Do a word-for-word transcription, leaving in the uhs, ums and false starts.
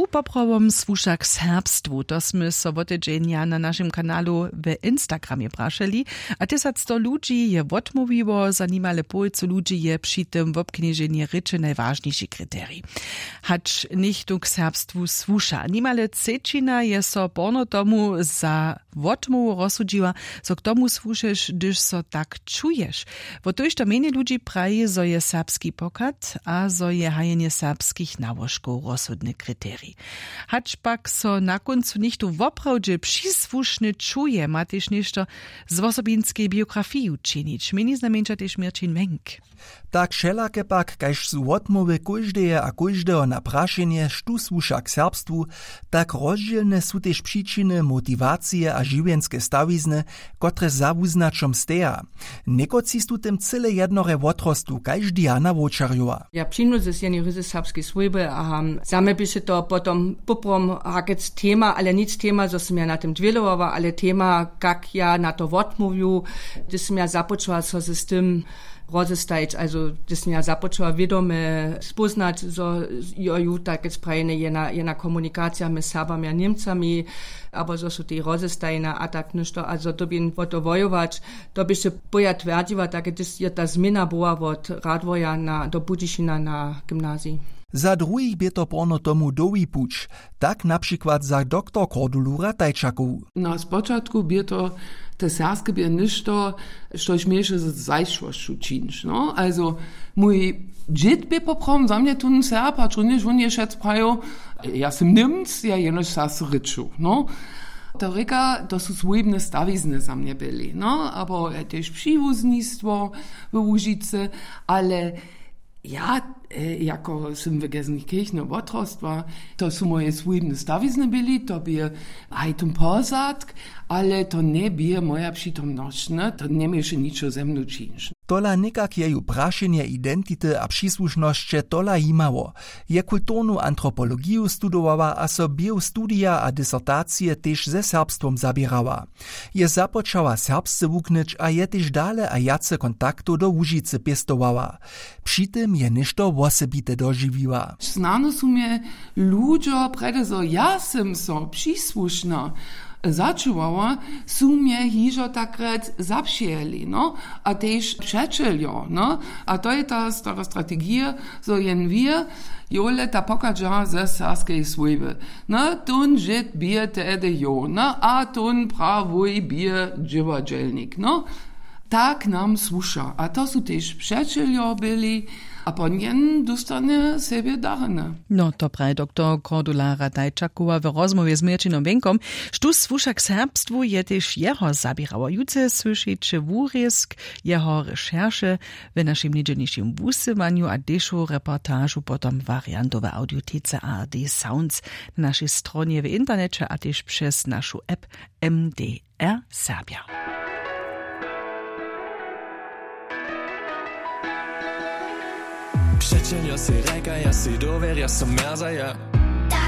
Poprawom słuša k serbstwu, to smy so wotedźenja na našim kanalu w instagramje prašeli. A tysacsto ludźi je wotmołwiło, za nimale połojcu ludźi je při tym wobknježenje rěče najwažniši kriterij. Hač něchtó k serbstwu słuša, nimale třećina je so porno tomu za wotmołwu rozsudźiła, zo k tomu słušeš hdyž so tak čuješ. Wo tójšto mjenjej ludźi praji zo je serbski pochad a zo je hajenje serbskich nałožkow rozsudny kriterij. Hač pak so na kóncu něchtó woprawdźe přisłušny čuje, ma tež něšto z wosobinskej biografiju činić, měni znajmjeńša tež měrćin mjenk. Tak wšelake pak kaž su wotmołwy kóždeje a kóždeho na prašenje štó słuša k serbstwu, tak rozdźělne su tež přičiny motiwacije a žiwjenske stawizny, kotrež za wuznaćom steja. Někotři su tym cyle jednorje wotrostu kaž diana wowčerjowa. Ja přinudźe z jenej ryzy serbskej swójby a za mje běše to potom poprom hakec tema ale nic tema zo sym ja na tym dwělowała ale tema kak ja na to wotmołwju, hdyž sym ja započała so z tym rozestajić also hdyž sym ja započała wědome spóznać zo jo ju takec prajene jena jena komunikacija mjez serbami a němcami, abo zo su tej rozestajene a tak něšto a zo dyrbjeń wo to wojować. To běše poja twjerdźiła tak hdyž je ta změna była wot radworja na do budyšina na gymnazij. Za druhich bě to porno tomu dołhi puć, tak na přikład za doktor kordulu ratajčakowu. Na spočatku bě to te serbske bě něšto štož měješe z zajšłosću čińć no also mój dźěd bě poprawom za mnje tón serb hač runjež wón je wšec prajił, ja sym němc ja jenož serbsce rěču no. To rěka to su swójbne stawizny za mnje byli no abo tež přiwuznistwo w łužicy. Ale ja jako sym w gelsenkirchene wotrostła, to su moje swójbne stawizny byli to bě haj tón pozadk, ale to njebě moja přitomnosć ne to njeměješe ničo ze mnu čińć. Tola někak je ju prašenje identity a přisłušnosće tola jimało. Je kulturnu antropologiju studowała a so běhu studija a disertacije tež ze serbstwom zaběrała. Je započała serbsce wuknyć a je tež dale a wjace kontaktow do łužicy pěstowała. Při tym je něšto wosebite dožiwiła. Snano su mje ludźo prjedy zo ja sym so přisłušna začuwała, su mje hižo takrjec zapřijeli no a tež přećeljo no. A to je ta stara strategija zo jen wir jowle ta pochadźa ze serbskej swójby. No tón žyd bě tehdy jow no a tón prawuj bě dźěładźelnik no. Tak nam słuša a to su tež přećeljo byli. A pon jen dóstanje sebje darjene. No to praji doktor kordula ratajčakowa w rozmołwje z měrćinom wjenkom. Štó słuša k serbstwu je tež jeho zaběrało jutře słyšiće wurězk jeho rešerše w našim njedźelnišim wusyłanju a dešow reportažu potom wariantowe audiotece a r d sounds na našej stronje w interneće a tež přez našu app. M d r serbja. Přećeljo sej rjekaja sej dowěrja so mjerzaja.